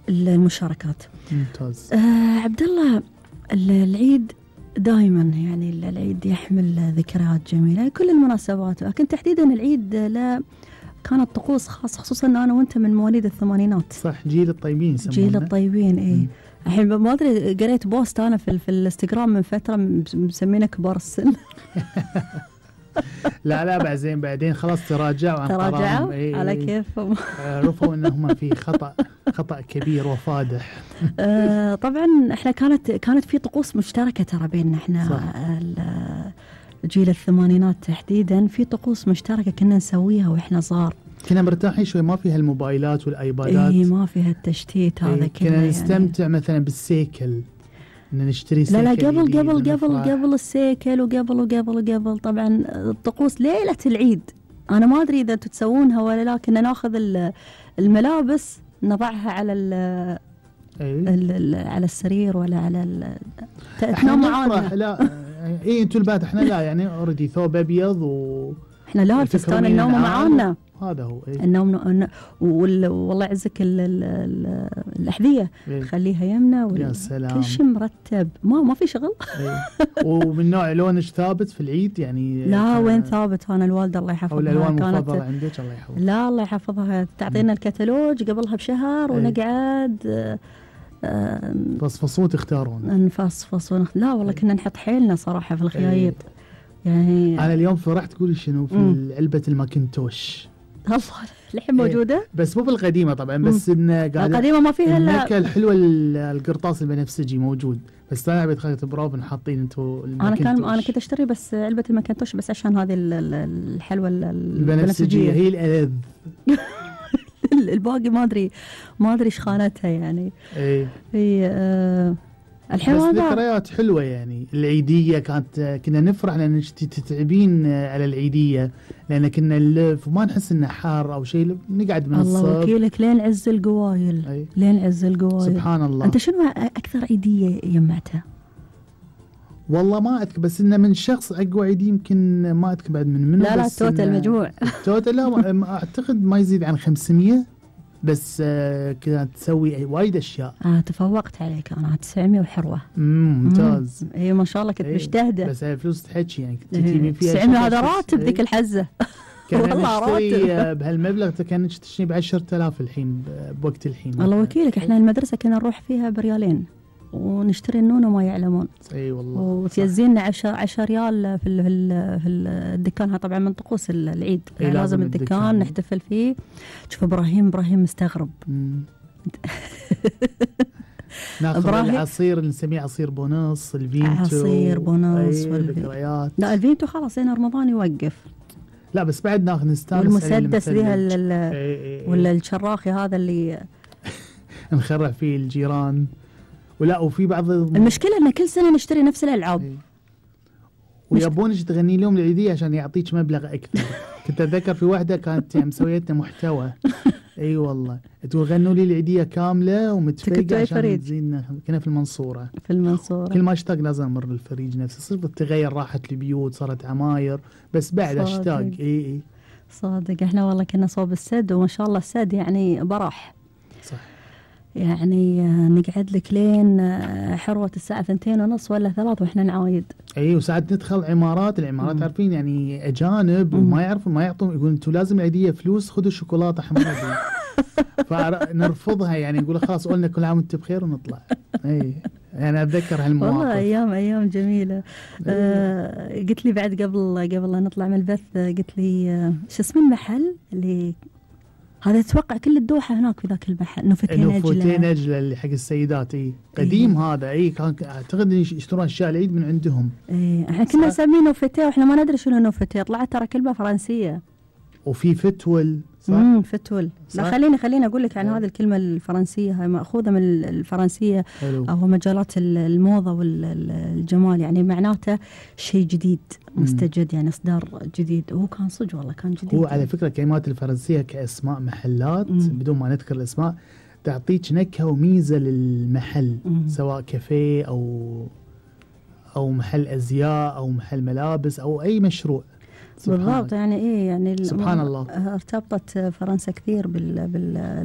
المشاركات. ممتاز. عبد الله، العيد دائما يعني العيد يحمل ذكريات جميلة، كل المناسبات، لكن تحديدا العيد لا كانت طقوس خاصة، خصوصا أن أنا وأنت من مواليد الثمانينات. صح، جيل الطيبين يسمونه. جيل الطيبين، إيه. الحين ما أدري، قريت بوست أنا في الانستغرام من فترة مسمينا كبار السن. لا بعدين خلاص تراجعوا عن قرارهم. إيه على كيفهم. عرفوا أنهم في خطأ كبير وفادح. طبعا احنا كانت في طقوس مشتركة ترى بيننا احنا جيل الثمانينات تحديدا، في طقوس مشتركة كنا نسويها واحنا صغار. كنا مرتاحين شوي، ما فيها الموبايلات والايبادات. ايه، ما فيها التشتيت هذا كله. كنا نستمتع يعني مثلا بالسيكل، ان نشتري سيكل. لا قبل السيكل وقبل طبعا الطقوس ليلة العيد. انا ما ادري اذا انتم تسوونها ولا لا. كنا ناخذ الملابس نضعها على على السرير ولا على تنام معانا. لا انتوا البات، احنا لا يعني اوريدي ثوب ابيض احنا لا، الفستان النوم معانا. هذا هو النوم. والله يعزك الأحذية خليها يمنا يا سلام، كل شيء مرتب، ما في شغل. ومن نوع لونش ثابت في العيد يعني؟ لا وين ثابت، أنا الوالدة الله يحفظها. الألوان المفضلة عندك الله يحفظها؟ لا الله يحفظها، تعطينا الكتالوج قبلها بشهر ونقعد فصفصون تختارون. نفصفصون. لا والله كنا نحط حيلنا صراحة في الخيايط. يعني أنا اليوم فرحت تقولي شنو في علبة الماكنتوش. الله الحين موجودة، بس مو بالقديمة طبعا، بس القديمة ما فيها النكهة الحلوة. القرطاس البنفسجي موجود، بس أنا بيت خليت برافو حاطين انتوا الماكنتوش. أنا كنت أشتري بس علبة الماكنتوش بس عشان هذه الحلوة البنفسجية هي الألذ. الباقي ما أدري إيش خانتها يعني. هي الحين بس ذكريات حلوة يعني. العيدية كنا نفرح لأن تتعبين على العيدية، لأن كنا نلف وما نحس إنه حار أو شيء، نقعد من الصبح. الله وكيلك لين عز القوايل. لين عز القوايل سبحان الله. أنت شنو أكثر عيدية يجمعتها؟ والله ما أذكر، بس إنه من شخص أقوى عيدية يمكن ما أذكر بعد منه. لا التوتال مجموع. التوتال لا أعتقد ما يزيد عن 500، بس كانت تسوي وايد اشياء. تفوقت عليك انا 900 وحروه. ممتاز. اي ما شاء الله كنت مجتهده. بس هاي فلوس تحكي يعني كنت تجيبين فيها 900 هذا راتب ذيك الحزه. والله نشتري بهالمبلغ كان تشتري ب 10,000 الحين بوقت الحين. الله وكيلك احنا المدرسه كنا نروح فيها بريالين ونشتري النون وما يعلمون. اي والله. وتيزيننا 10 ريال في الدكان. طبعا من طقوس العيد لازم الدكان نحتفل فيه. شوف ابراهيم مستغرب. ناخذ العصير اللي نسميه عصير بونص، الفينتو. عصير بونص والذكريات. لا الفينتو خلاص هنا رمضان يوقف. لا بس بعد ناخذ نستانس. والمسدس ذي ولا الشراخي هذا اللي نخرع فيه الجيران. ولا وفي بعض المشكلة ان كل سنة نشتري نفس الالعاب. ويبونك تغني لهم العيدية عشان يعطيك مبلغ اكثر. كنت اتذكر في واحدة كانت يعني مسويتنا محتوى. اي والله تقول غنوا لي العيدية كاملة ومتفرقة عشان تزيننا. كنا في المنصورة. كل ما اشتاق لازم امر الفريج نفسه. صرت تغير راحة البيوت، صارت عماير، بس بعد اشتاق. اي صادق. احنا والله كنا صوب السد، وما شاء الله السد يعني براح. صح. يعني نقعد لك لين حروة الساعة 2:30 ولا 3 وإحنا نعايد. أي وساعات ندخل العمارات عارفين يعني أجانب وما يعرفون، ما يعطون، يقولون أنتوا لازم العيدية فلوس، خذوا الشوكولاتة حمادي. فنرفضها يعني، نقول خلاص قلنا كل عام وأنت بخير ونطلع. أي يعني أتذكر هالمواقف. والله أيام جميلة. قلت لي بعد قبل لا نطلع من البث، قلت لي شو اسم المحل اللي هذا اتوقع كل الدوحة هناك في ذاك المحل. نوفتين نجلة اللي حق السيدات. قديم هذا. كان اعتقد يشترون اشياء العيد من عندهم. احنا كنا نسميه نوفتين واحنا ما ندري شنو نوفتين. طلعت ترى كلمة فرنسية. وفي فتول. صح. فتول. لا خليني اقول لك عن هذه الكلمة الفرنسية. هاي مأخوذة من الفرنسية. او مجالات الموضة والجمال، يعني معناته شيء جديد مستجد، يعني اصدار جديد. وهو كان صدق والله كان جديد. هو على فكرة كلمات الفرنسية كاسماء محلات بدون ما نذكر الاسماء تعطيك نكهة وميزة للمحل. سواء كافيه او محل ازياء او محل ملابس او اي مشروع. بالضبط. يعني يعني سبحان الله. ارتبطت فرنسا كثير بالموضة